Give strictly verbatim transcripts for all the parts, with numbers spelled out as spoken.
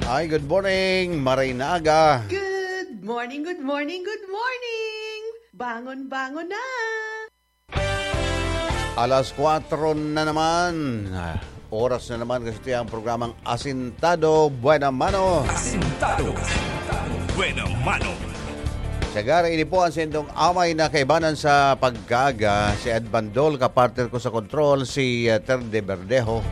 Ay, good morning, maray na aga. Good morning, good morning, good morning! Bangon, bangon na! Alas kwatro na naman. Ah, oras na naman kasi ito ang programang Asintado Buena Mano. Asintado Buena Mano. Sagara, ini po ang sindong amay na kaibanan sa pagkaga, si Ed Bandol, kapartner ko sa kontrol, si, ah, Ter de Verdejo.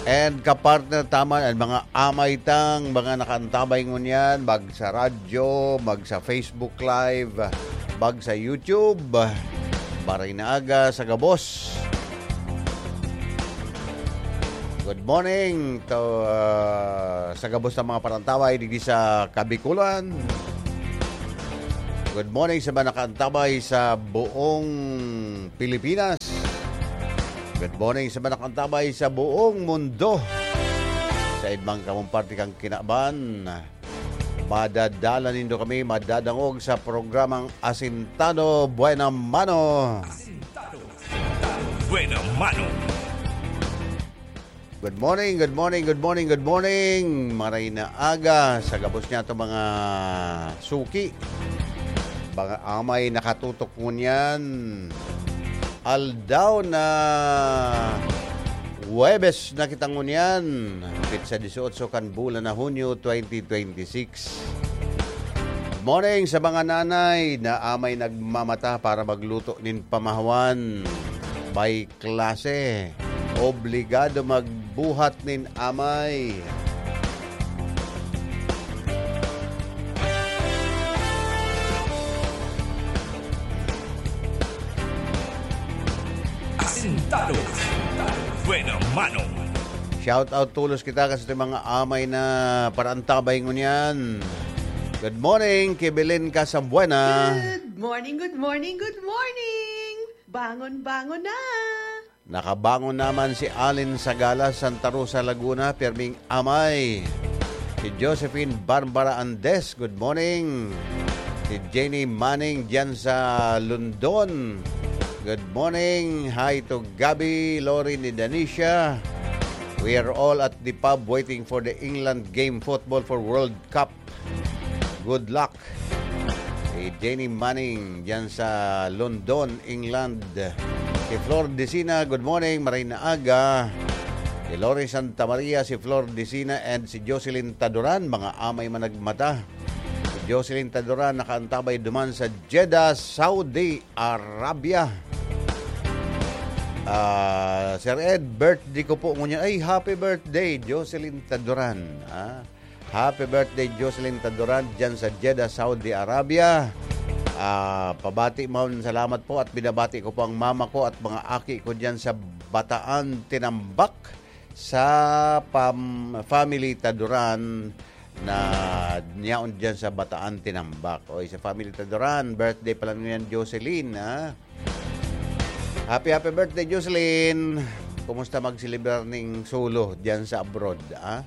And kapartner taman, ang mga amay tang, mga nakaantabay ngunyan, mag sa radyo, mag sa Facebook Live, mag sa YouTube. Maray na aga sa gabos. Good morning to, ah, sa gabos ng mga parantabay digdi sa Kabikulan. Good morning sa mga nakaantabay sa buong Pilipinas. Good morning sa mga nakaantabay sa buong mundo. Sa ibang kamong parte kang kinaban, madadala nindo kami, madadangog sa programang Asintado Buena Mano. Asintado Buena Mano. Good morning, good morning, good morning, good morning. Maray na aga sa gabos niya to, mga suki. Mga amay nakatutok ngunyan. Aldaw na Huwebes na kita ngunyan. Petsa dieciocho kan bulan na Hunyo, twenty twenty-six. Morning sa mga nanay na amay nagmamata para magluto nin pamahawan. May klase. Obligado magbuhat nin amay. Asintado. Buena mano. Shout out tolos kita kasi sa mga amay na paraantabay ngunyan. Good morning, Kibilin Kasambuena. Good morning, good morning, good morning. Bangon, bangon na. Nakabangon naman si Alin Sagala, Santa Rosa, Laguna, pirming amay. Si Josephine Barbara Andes, good morning. Si Jenny Manning diyan sa London. Good morning. Hi to Gabby, Lori ni Danisha. We are all at the pub waiting for the England game football for World Cup. Good luck. Si Jenny Manning diyan sa London, England. Si Flor Decina, good morning, maray na aga. Si Lori Santa Maria, si Flor Decina, and si Jocelyn Taduran, mga amay man nagmata. Si Jocelyn Taduran nakaantabay duman sa Jeddah, Saudi Arabia. Ah, Sir Ed, birthday ko po ngunyan. Ay, happy birthday, Jocelyn Taduran. Ah, happy birthday, Jocelyn Taduran, dyan sa Jeddah, Saudi Arabia. Ah, pabati man, salamat po at binabati ko po ang mama ko at mga aki ko dyan sa Bataan, Tinambak, sa pam-, family Taduran na niyaon dyan sa Bataan, Tinambak. O, sa family Taduran, birthday pala ngayon, Jocelyn, ha? Happy, happy birthday, Jocelyn! Kumusta magselebrar ning solo dyan sa abroad, ha?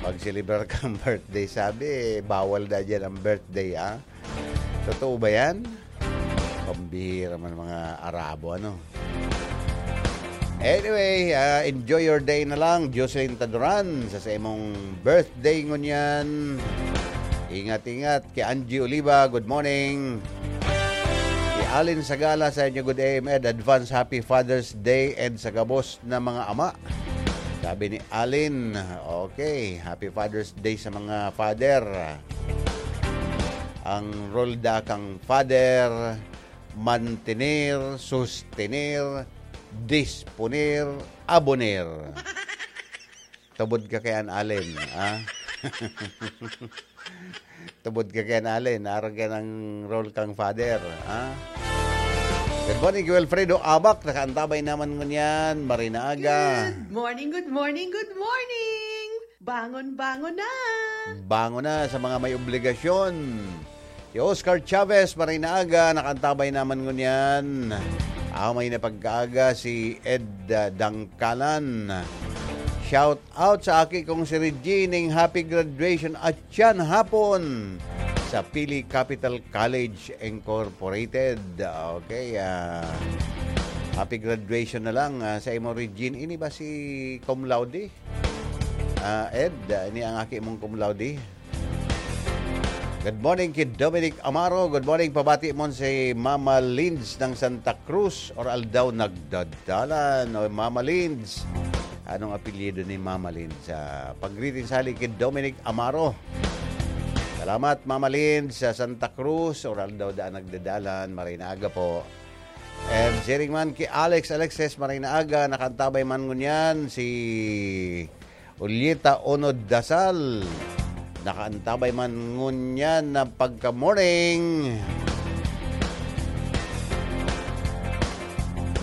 Magselebrar kang birthday. Sabi, bawal na dyan ang birthday, ha? Totoo ba yan? Pambihira man mga Arabo, ano? Anyway, ah, enjoy your day na lang, Jocelyn Taduran, sa, sa imong birthday ngunyan. Ingat-ingat. Kay Angie Oliva, good morning. Kay Alin Sagala, sa inyo, good A M Ed, advance happy Father's Day and sa gabos na mga ama. Sabi ni Alin, okay, happy Father's Day sa mga father. Ang role da kang father, mantener, sostener, disponer, aboner. Tubod ka kay an Alin, ah? Tubod ka kay an Alin, arog ka ng role kang father, ah? Good morning, Kuya Alfredo Abak. Nakaantabay naman ngunyan. Maray na aga. Good morning, good morning, good morning! Bangon, bangon na! Bangon na sa mga may obligasyon. Si Oscar Chavez, maray na aga, nakaantabay naman ngunyan. Amay na pagkaaga si Ed, ah, Dangkalan. Shout out sa aki kong si Regine, ning happy graduation at yan hapon sa Pili Capital College Incorporated. Okay, ah, happy graduation na lang, ah, sa imo, Regine. Ini ba si cum laude? Ah, Ed, ah, ini ang aki mong cum laude. Good morning kay Dominic Amaro. Good morning, pabati mon si Mama Linz ng Santa Cruz. Or aldaw nagdadalan. O, Mama Linz. Anong apelyido ni Mama Linz? Ah, pag-greeting sali kay Dominic Amaro. Salamat, Mama Linz, sa Santa Cruz. Or aldaw daan nagdadalan. Maray na aga po. And sharing man kay Alex Alexis, maray na aga, nakaantabay man ngunyan si Ulieta Onod Dasal. Nakaantabay man ngunyan na pagka-morning.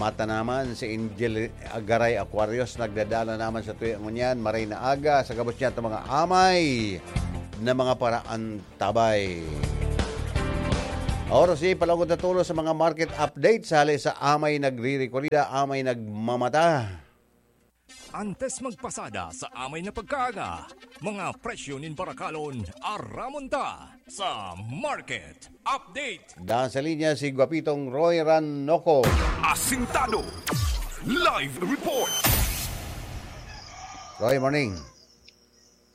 Mata naman si Angel Agaray Aquarius, nagdadala naman sa tuya ngunyan, maray na aga, sa gabos niya itong mga amay na mga paraantabay. Oras ni palangod na tulo sa mga market update, hali sa amay nagre-rekorida, amay nagmamata. Antes magpasada sa amay na pagkaaga, mga presyo nin barakalon, aramon ta sa market update. Daan sa linya si Guapitong Roy Ranoco. Asintado. Live report. Roy, morning.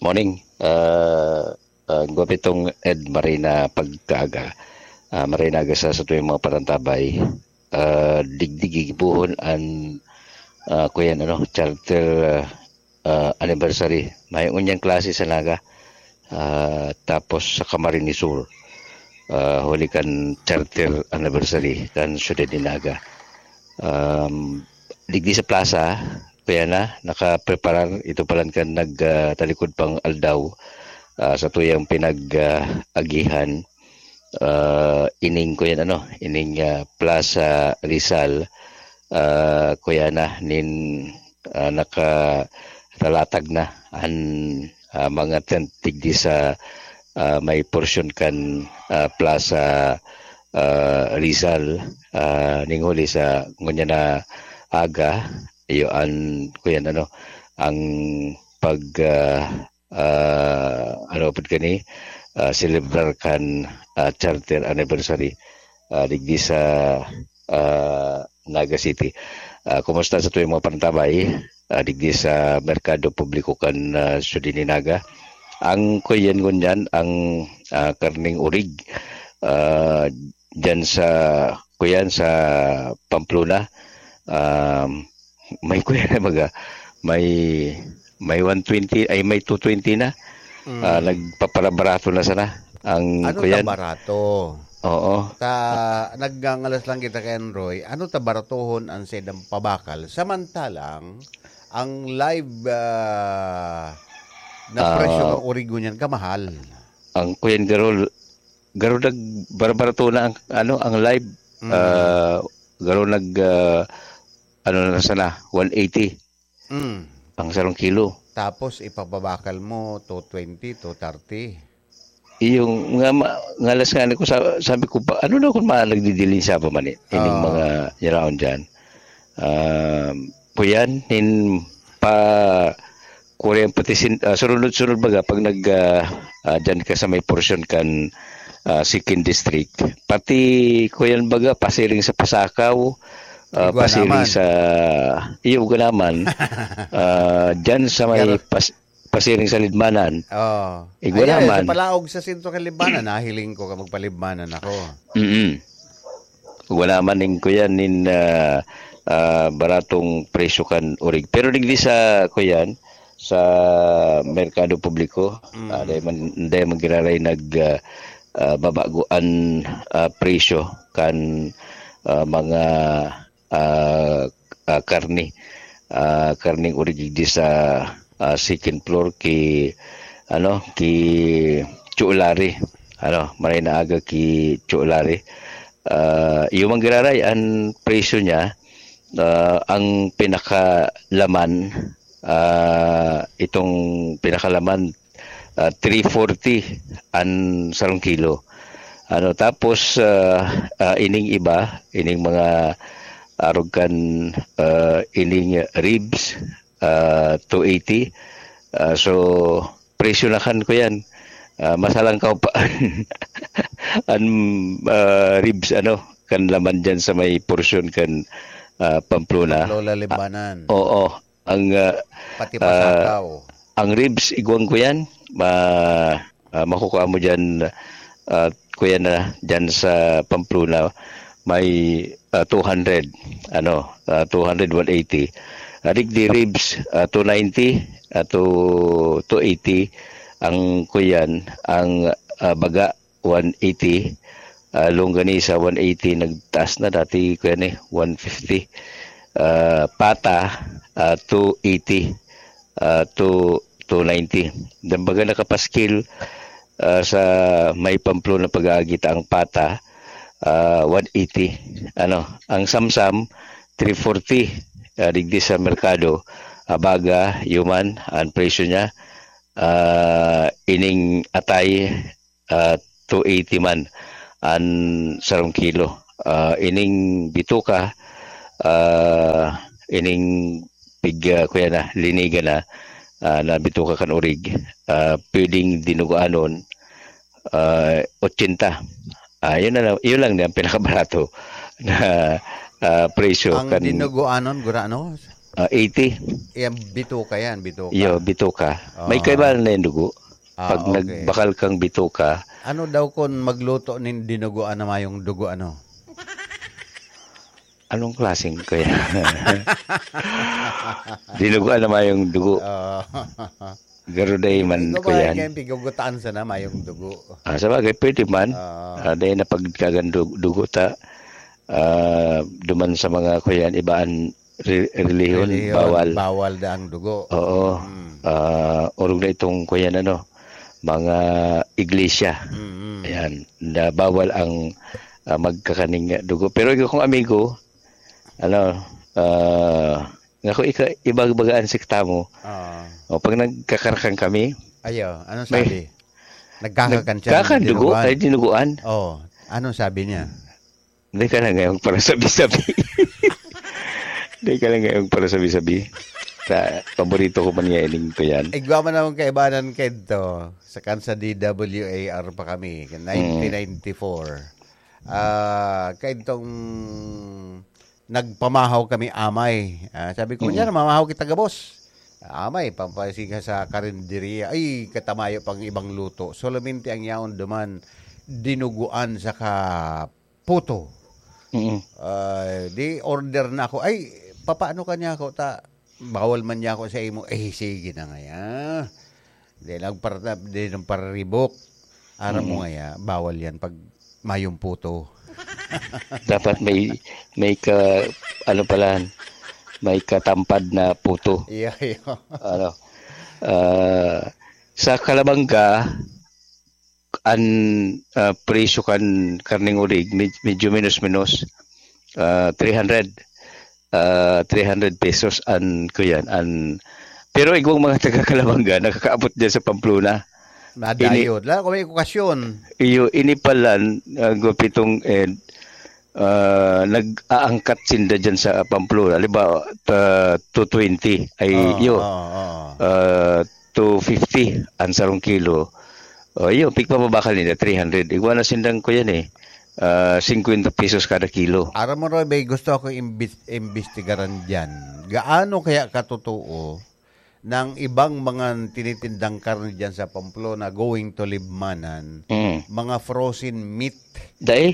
Morning. Ah, ah, Guapitong Ed, maray na pagkaaga. Ah, maray na aga sa, sa tuwing mga parantabay. Ah, digdi gigibohon an, ah, kuyan, ano, charter, ah, ah, anniversary. May unyang klase sa Naga. Ah, tapos sa Camarines Sur, ah, huli kan charter anniversary kan siyudad ni Naga. Um, digdi sa plaza, kaya na, nakapreparar, ito palan kan nag, ah, talikod pang aldaw, ah, sa tuyang pinag, ah, agihan, ah, ining, kuyan, ano, ining, ah, Plaza Rizal, ah, kuya na, nin, ah, nakatalatag na an, ah, mga tent digdi sa, ah, may porsyon kan, ah, Plaza, ah, Rizal, ah, ning huli sa ngunyan na aga, iyo an, kuyan, ano, ang pag, ah, ah, ano pud kani, ah, selebrar kan, ah, charter anniversary, ah, digdi sa, ah, Naga City. Ah, kumusta sa tuyang mga pantabay, ah, digdi sa merkado publiko kan, ah, siyudad ni Naga? Ang kuyan ngunyan, ang, ah, karning urig, ah, diyan sa, kuyan, sa Pamplona, um, may kuyan na baga, may, may one twenty, ay, may two twenty na. Mm. Ah, nagpaparabarato na sana ang Ano kuyan. Barato? Oo. Ta, nagngangalas lang kita kay Roy. Ano ta baratohon ang sedang pabakal? Samantalang, ang live, ah, na Ah. presyo ng origo niyan, kamahal. Ang kuyan, garo, garo nagbarbarato na ang, ano, ang live. Mm. Ah, garo nag, ah, ano na sana, one eighty Mm. ang sarong kilo. Tapos ipapabakal mo, two twenty, two thirty. Iyong nga ma-, ngalas nga ko sa-, sabi ko pa, "Ano na kung mga nagdidiling sa pa man eh, ining Ah. mga yaraon diyan?" Um, kuyan, nin pa, Korean pati sin-, ah, sunod-sunod baga pag nag, ah, ah, diyan ka sa may porsyon kan, ah, Sikin District. Pati kuyan baga, pasiring sa Pasakaw, ah, Igwa pasiring naman. sa, iyo, Igwa naman. Ah, diyan sa may Pero pas-, pasiring sa Libmanan. Oh. Igwa Ay, ay, naman. Sa Palaog sa sentro kan Libmanan, nahiling ko ka magpalibmanan ako. Mm-mm. Wala man ning kuyan nin, ah, ah, baratong presyo kan urig. Pero digdi sa kuyan, sa merkado publiko, Mm. ah, dai man, dai man giraray nag, ah, ah, babago an, ah, presyo kan, ah, mga, ah, ah, karne. Ah, karneng urig digdi sa, ah, second floor ki, ano, ki Chulari. Ano, maray na aga ki Chulari. Ah, iyo man giraray, an presyo niya, ah, ang pinakalaman, ah, itong pinakalaman, ah, three forty an sarong kilo. Ano, tapos, ah, ah, ining iba, ining mga arog kan, ah, ining ribs, ah, two eighty. Ah, so, presyo na kan kuyan. Ah, masalangkaw pa an, an, ah, ribs, ano, kan laman diyan sa may porsyon kan, ah, Pamplona. Lola Libanan. Ah, oo. Ang, ah, Pati ah, Pasakaw. ang ribs, igwang ko yan, ma, ah, makukuha mo dyan, ah, kuya na, dyan sa Pamplona, may, ah, two hundred, ano, ah, two hundred, one eighty. Adik di ribs, ah, two ninety, ah, to, two eighty. Ang kuyan, ang, ah, baga, one eighty. Ah, longganisa, one eighty. Nagtaas na dati, kuya ni, one fifty. Ah, pata, ah, two eighty, ah, to two ninety. Dambaga nakapaskil, ah, sa may Pamplona pag-aagi ta ang pata, ah, one eighty. Ano, ang samsam, three forty, ah, digdi sa merkado. Abaga, human, ang presyo niya, ah, ining atay, ah, two eighty man an sarong kilo. Ah, ining bituka, ah, ining pig, ah, kuya na, liniga na, ah, na bituka kan urig, ah, pwedeng dinuguanon, ah, ochenta. Ah, yun na lang, yun lang ang pinakabarato na, ah, presyo. Ang kan dinuguanon, gurano? Ah, eighty. Yan, bituka yan, bituka. Yo, bituka. May Ah. kaibahan na yung dugo. Ah, Pag okay. nagbakal kang bituka. Ano daw kung magluto nin dinuguan na mayong dugo, ano? Anong klaseng kaya? Dinuguan na mayong dugo. Oo. Garo day man Ikaw ko ba yan. Kaya pigugutaan sana mayong dugo? Ah, sa bagay, pwede man. Oo. Ah, dahil na pagkagan du- dugo ta, ah, duman sa mga kuyan, ibaan re- relihiyon, Relihiyon, bawal. bawal na ang dugo. Oo. Mm. Ah, orog na itong kuyan, ano, mga iglesia. Mm-mm. Ayan, na bawal ang, ah, magkakaning dugo. Pero ikaw kong amigo, ano, ah, nga kung ika- ibagbagaan sikta mo, Ah. o pag nagkakarakan kami, Ayo, anong may- sabi? Nagkakakan siya ng Nagkakan dugo, dinuguan? ay dinuguan. Oh, anong sabi niya? Hindi ka na ngayong para sabi-sabi. Hindi ka na ngayong para sabi-sabi. Sa paborito ko man nga ining to yan. Igwa man akong kaibanan kento. Sa kan sa D W A R pa kami, nineteen ninety-four. Ah, kentong nagpamahaw kami amay. Ah, sabi ko, Mm. "Yan, mamahaw kita gabos." Amay, pampasiga sa karinderya. Ay, katamayo pang ibang luto. Solamente ang yaon duman, dinuguan saka puto. Mm. Ah, di order na ako. Ay, papaano ka niya ako? Ta, bawal man niya ako sa imo. Eh, sige na nga ya. Di lang para, di lang para ribok. Aram mo Mm. nga ya, bawal yan pag mayong puto. Dapat may, may ka, ano pala, may katampad na puto. Iya, iya. Ano, ah, sa Kalabanga, an, ah, presyo kan karneng urig, med-, medyo menos-menos, ah, three hundred, ah, three hundred pesos an, kuyan, an, pero igwang mga taga Kalabanga, nakakaabot dyan sa Pamplona. Madayo. Ini- Lalo kung may okasyon. Iyo, ini pala, ah, gupitong, eh, ah, nag-aangkat sinda dyan sa Pamplona. Halimbawa, ta-, two twenty, ay, Oo, iyo. oo, oo. Ah, two fifty ang sarong kilo. O, iyo, pigpapabakal nila, three hundred. Igwa na sindang ko yan eh. Ah, fifty pesos kada kilo. Aram mo, Roy, may gusto ako imbis-, imbestigaran dyan. Gaano kaya katotoo ng ibang mga tinitindang karne dyan sa Pamplona going to Libmanan, Mm. mga frozen meat? Dai?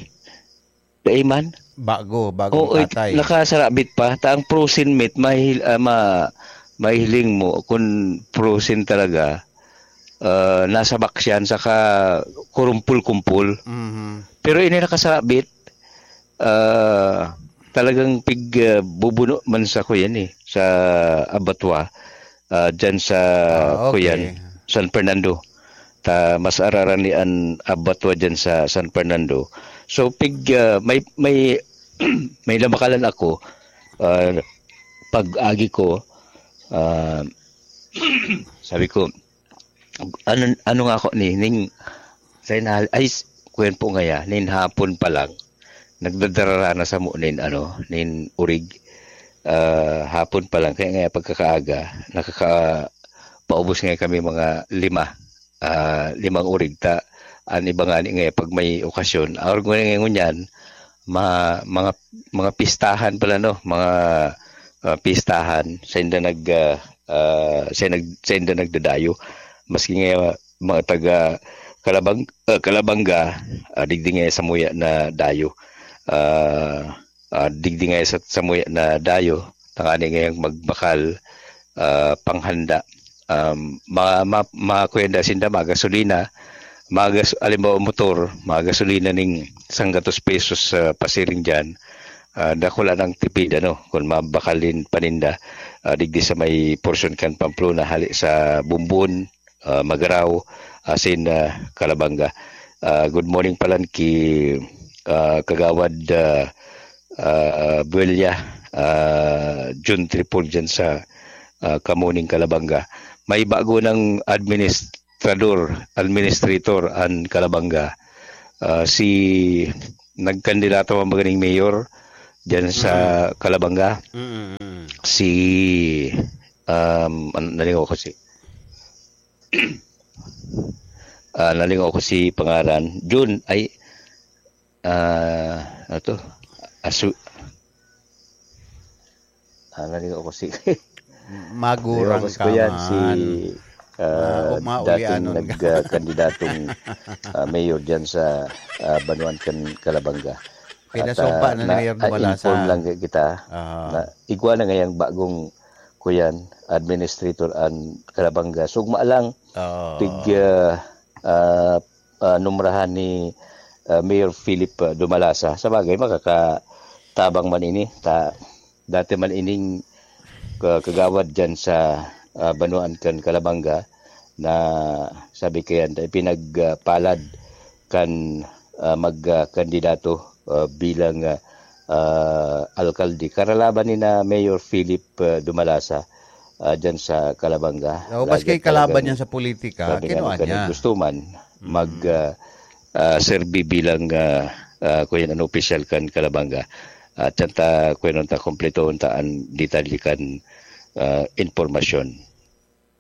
Dai man? Bago, bagong Oo, it- tatay. nakasarabit pa. Ta ang frozen meat, mahil-, ah, ma-, mahiling mo kung frozen talaga, ah, nasa box yan, saka kurumpul-kumpul. Mhm. Pero ini nakasarabit, ah, talagang pig, ah, bubuno man sa kuyan eh, sa abattoir, ah, dyan sa Ah, okay. kuyan, San Fernando. Ta mas araran ni an abattoir dyan sa San Fernando. So, pig, ah, may, may, may nabakalan ako, ah, pag-agi ko, ah, sabi ko, "Ano, ano nga ako ni, ning, sa inal-, ay, s-, kuyan po ngaya, nin hapon pa lang, nagdadarara na samo nin, ano, nin urig, ah, hapon pa lang." Kaya ngaya pagkakaaga, nakaka-, paubos ngaya kami mga lima, ah, limang urig ta. An iba ngani ngaya pag may okasyon, orog ngaya ngunyan, ma-, mga, mga pistahan pala, no? Mga, ah, pistahan, sa inda nag, ah, ah, sain nag-, sainda nagdadayo. Maski nga mga taga Kalabang-, ah, Kalabanga, ah, digdi nga samuya nadayo. Ah, ah, digdi nga sa, samuya nadayo, tangani ngayang magbakal, ah, panghanda. Um, ma-, ma-, makuya nda sinda, mga gasolina, mga gas-, halimbawa, motor, mga gasolina ning sanggatos pesos sa pasiring diyan, ah, dakula nang tipid, ano, kung mabakalin paninda, ah, digdi sa may porsyon kan Pamplona, hali sa Bumbon, ah, Magarao, asin, ah, Calabanga. Ah, good morning palan ki, ah, Kagawad, ah, ah, Buella, ah, Jun Tripol dyan sa, ah, Kamuning, Calabanga. May bago ng administrador, administrator an Calabanga. Ah, si, nagkandidato man ba ganing mayor dyan sa Mm. Calabanga? Mm, mm. Si, um, an-, nalingaw ko si, ah, nalingaw ko si pangaran. Jun, ay, ah, ano to? Asu-, ah, nalingaw ko si, Magurang nalingaw ko si ka Kuyan, si, man. Ah, ah, o, dating maulianon ka. nag-, ah, kandidatong, ah, mayor dyan sa, ah, Banuan kan Calabanga. At, Pinasumpa ah, na ni na, Mayor ah, Dumalasa. inform lang kita Aha. na igwa na ngayang bagong, kuyan, administrator an Calabanga. Sugma lang, Oo. pig, ah, ah, ah, numrahan ni, ah, Mayor Philip, ah, Dumalasa. Sa bagay, makakatabang man ini. Ta-, dati man ining ka-, kagawad dyan sa, ah, Banuan kan Calabanga na sabi kayan, ipinagpalad kan, ah, mag, ah, kandidato, ah, bilang, ah, ah, alkalde. Karalaban ni na Mayor Philip, ah, Dumalasa, ah, dyan sa Calabanga. Oo, Lagi maski talagang kalaban niya sa politika, sabi nga kinuha nung niya. Gusto man Mm. mag, ah, ah, serbi bilang, ah, ah, kuyan, ano, opisyal kan Calabanga. At yan ta, kuyan ta, kompleto ta an detalye kan, ah, impormasyon.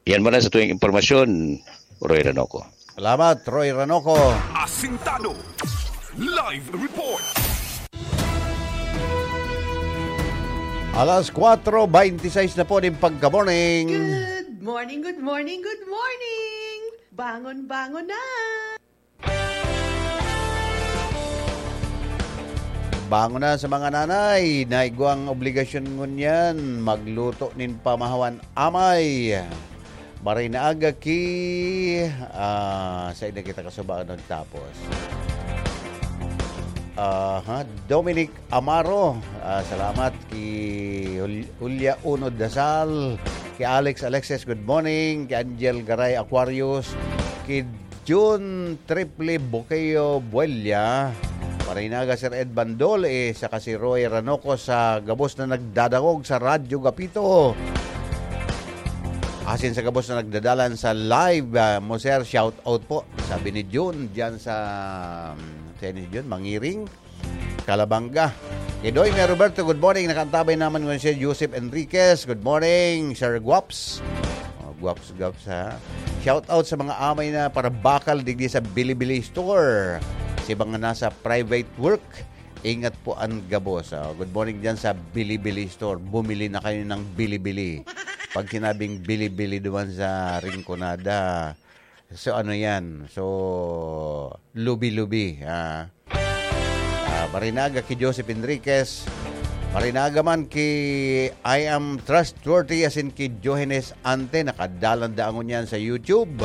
Yan muna sa tuwing impormasyon, Roy Ranoco. Salamat, Roy Ranoco. Asintado. Live report. Alas kwatro beintiseis na po nin pagka-morning. Good morning, good morning, good morning! Bangon, bangon na! Bangon na sa mga nanay na igwang obligasyon ngunyan, magluto nin pamahawan amay. Maray na aga ki, ah, sa ina kita kasubaon nagtapos. Aha, Dominic Amaro, ah, salamat ki Jul-, Julia Uno Dasal, ki Alex Alexis, good morning, ki Angel Garay Aquarius, ki Jun Triple Buqueo Buella, Marinaga, Sir Ed Bandol, eh, saka si Roy Ranoco sa gabos na nagdadangog sa Radyo Gapito. Asin sa gabos na nagdadalan sa live, ah, mo, sir, shout out po. Sabi ni Jun, dyan sa, um, saan ni Jun? Mangiring, Calabanga. Kay Doy May Roberto, good morning. Nakaantabay naman ngunyan si Joseph Enriquez. Good morning, Sir Guaps. Oh, Guaps, Guaps, ha. Shout out sa mga amay na parabakal digdi sa Bilibili Store. Si mga nasa private work, ingat po an gabos. Oh, good morning dyan sa Bilibili Store. Bumili na kayo ng Bilibili. Pag sinabing Bilibili duman sa Rinconada, so ano yan? So, lubi-lubi, ah. Ah, Marinaga ki Joseph Enriquez. Marinaga man ki I Am Trustworthy, asin ki Johannes Ante. Nakadalan daangon yan sa YouTube.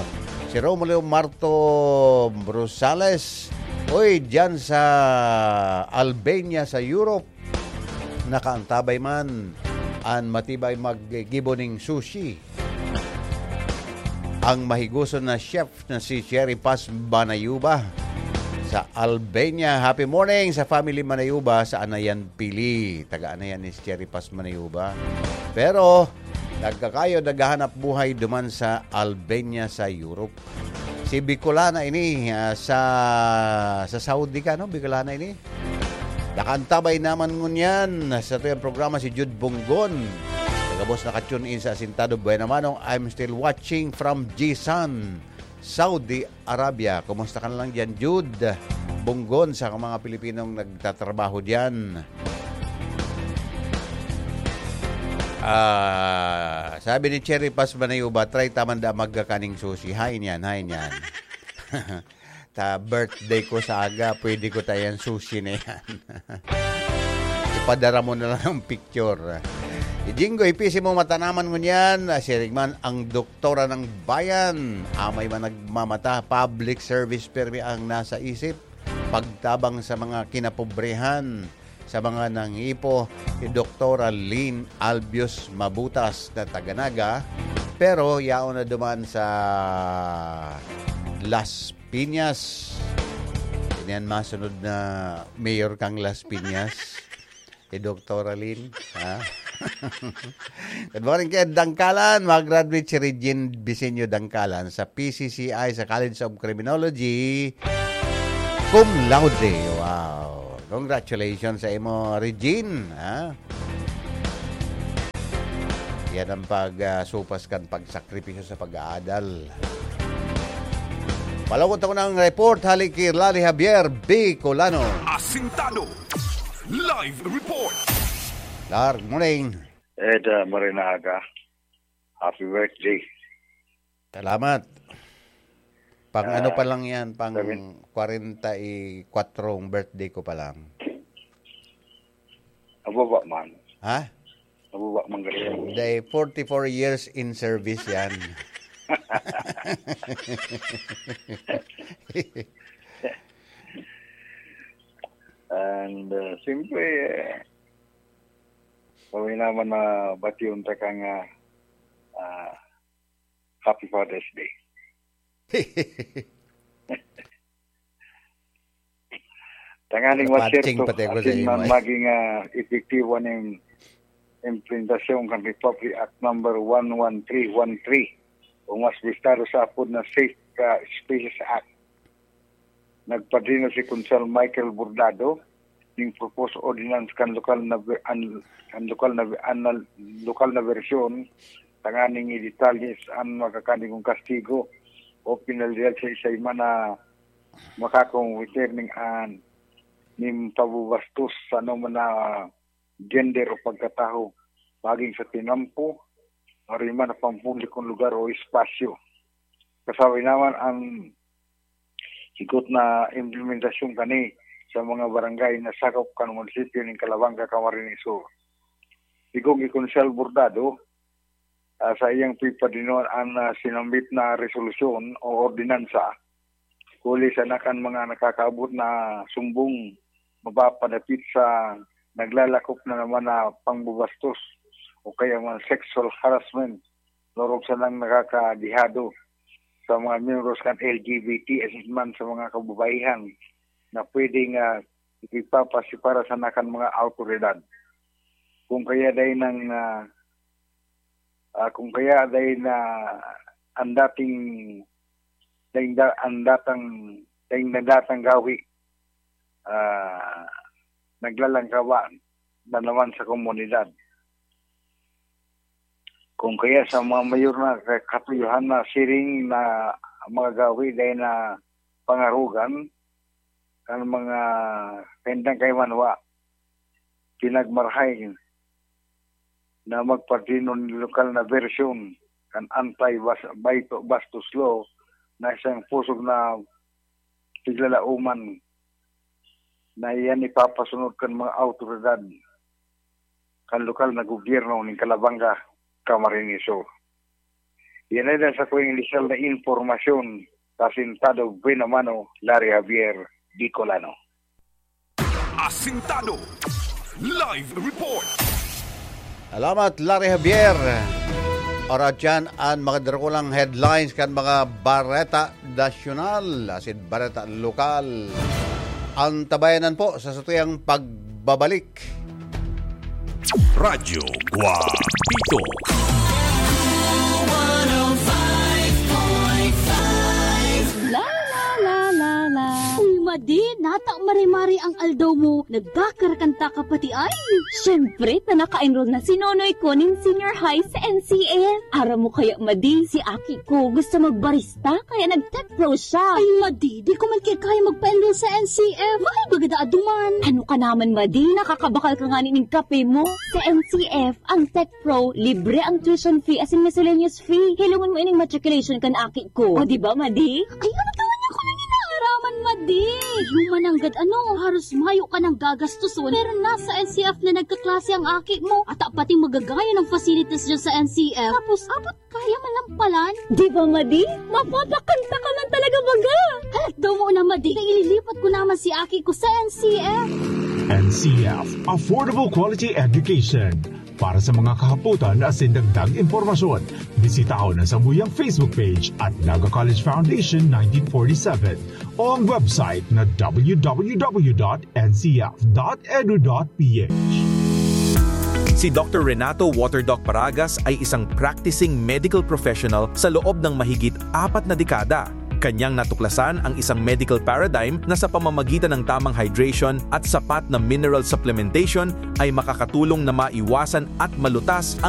Si Romulo Marto Rosales. Uy, dyan sa Albania, sa Europe. Nakaantabay man an matibay maggibo ning sushi. Ang mahigoson na chef na si Cherry Paz Manayuba sa Albania. Happy morning sa family Manayuba sa Anayan, Pili. Taga Anayan ni Cherry Paz Manayuba. Pero, nagkakayo, naghahanap buhay duman sa Albania, sa Europe. Si Bicolana ini, ah, sa, sa Saudi ka, no? Bicolana ini. Nakaantabay naman ngunyan sa tuyang programa si Jude Bonggon. Sa gabos naka-tune in sa Asintado. Buena manong, I'm still watching from Jisan, Saudi Arabia. Kumusta ka na lang dyan, Jude Bonggon, sa mga Pilipinong nagtatrabaho dyan? Ah, sabi ni Cherry Paz Manayuba, "Try ta man da magkakaning sushi." Hain yan, hain yan. Ta birthday ko sa aga, pwede ko ta yan sushi na yan. Ipadara mo na lang ang picture. Si Jingo, ipisi mo matanaman ngunyan. Siring man ang doktora ng bayan. Amay man nagmamata, public service permi ang nasa isip. Pagtabang sa mga kinapobrehan, sa mga nanghipo, si Doktora Lynn Albios Mabutas na taga Naga, pero yaon na duman sa Las Piñas. Yan masunod na mayor kang Las Piñas, si Doktora Lynn, ha? Good morning kay Dangkalan. Mag-graduate si Regine Bisenyo Dangkalan sa P C C I sa College of Criminology. Cum laude. Wow. Congratulations sa imo, Regine, ha? Yan ang pag, ah, supas kan pagsakripisyo sa pag-aadal. Palawot ako ng report, hali ki Larry Javier Bicolano. Asintado. Live report. Lar, good morning. Ed, ah, Marinaga. Happy birthday. Salamat. Pang ano Ah, pa lang yan, pang seven. kwarenta y kwatro ang birthday ko pa lang. Ababa man. Ha? Ababa man ganyan. Hindi, forty-four years in service yan. And, uh, siyempre, eh, kami naman na bation ta kang, ah, ah, Happy Father's Day. Tanganing Patching maserto, pati ako sa asin imo, man eh. maging, ah, epektibo ning implementasyon kan Republic Act number one one three one three, o mas bistado sa apod na Safe, ah, Spaces Act. Nagpadrino si Konsehal Michael Bordado ning proposed ordinance kan lokal na ve-, an, an lokal na ve-, an, lokal na bersyon, tanganing idetalye an makakaning kastigo o penalidad sa isay man na makakomiter ning an nin pabubastos sa anoman na gender o pagkatawo, maging sa tinampo, o rin man na pampublikong lugar o espasyo. Kasabi naman ang higot na implementasyon kani sa mga barangay na sakop kan munisipyo nin Calabanga, Camarines Sur. Sigon ki Konsehal Bordado, ah, sa iyang pagpadinoan an, ah, sinambit na resolusyon o ordinansa, huli sana kan mga nakakaabot na sumbong mapapadapit sa naglalakop na naman na pangbubastos o kaya man sexual harassment, lorog sanang nakakadehado sa mga miyembros kan L G B T asin man sa mga kababaihan na pwedeng, ah, ipagpapasipara sana kan mga awtoridad. Kung kaya dai nang, ah, ah, kung kaya dai na ang dating, daing da-, ang datang, daing nadatang gawi, ah, naglalangkawa na naman sa komunidad. Kung kaya sa mga mayor na ka-, katuyohan na siring na mga gawi dai na pangarogan, kan mga kaindang kaimanwa, pinagmarahay na magpadrino nin lokal na bersyon kan anti-bas-, baito-, bastos law na isang pusog na piglalauman na iyan ipapasunod kan mga awtoridad kan lokal na gobyerno nin Calabanga, Camarines Sur. Yan ay nasa ko yung initial na impormasyon, Asintado Buenamano, Larry Javier, Bicolano. Asintado. Live report. Salamat, Larry Javier. Ora dyan an mga dakulang headlines kan mga bareta nasyonal, asin bareta lokal. Antabayanan po sa satuyang pagbabalik. Radyo Guapito. La, la, la, la, la. Di, nata mare-mare ang aldaw mo, nagkakarakanta ka pati ay. Siyempre, ta naka-enroll na si Nonoy ko nin senior high sa N C F. Aram mo kaya, Madi, si aki ko gusto magbarista, kaya nag-tech pro siya. Ay, Madi, di ko man kaya magpa-enroll sa N C F. Mahal baga daa duman. Ano ka naman, Madi? Nakakabakal ka nga nin kape mo. Sa N C F, ang tech pro, libre ang tuition fee asin miscellaneous fee. Hilongon mo ining matriculation kan aki ko. O, di ba, Madi? Ay, ano ka man ako nang inaaraman, Madi? Yung mananggad ano, haros mayo ka nang gagastuson, pero nasa N C F na nagkaklase ang aki mo. At pati magagaya ng facilities dyan sa N C F. Tapos, abot kaya man lang palan. Di ba, Madi? Mapapakanta ka man talaga baga. Halat daw mo na, Madi. Ililipat ko naman si aki ko sa N C F. N C F, Affordable Quality Education. Para sa mga kahapotan asin dagdag impormasyon, bisitahon ang samuyang Facebook page at Naga College Foundation nineteen forty-seven o ang website na w w w dot n c f dot edu dot p h. Si Doctor Renato Waterdoc Paragas ay isang practicing medical professional sa loob ng mahigit apat na dekada. Kanyang natuklasan ang isang medical paradigm na sa pamamagitan ng tamang hydration at sapat na mineral supplementation ay makakatulong na maiwasan at malutas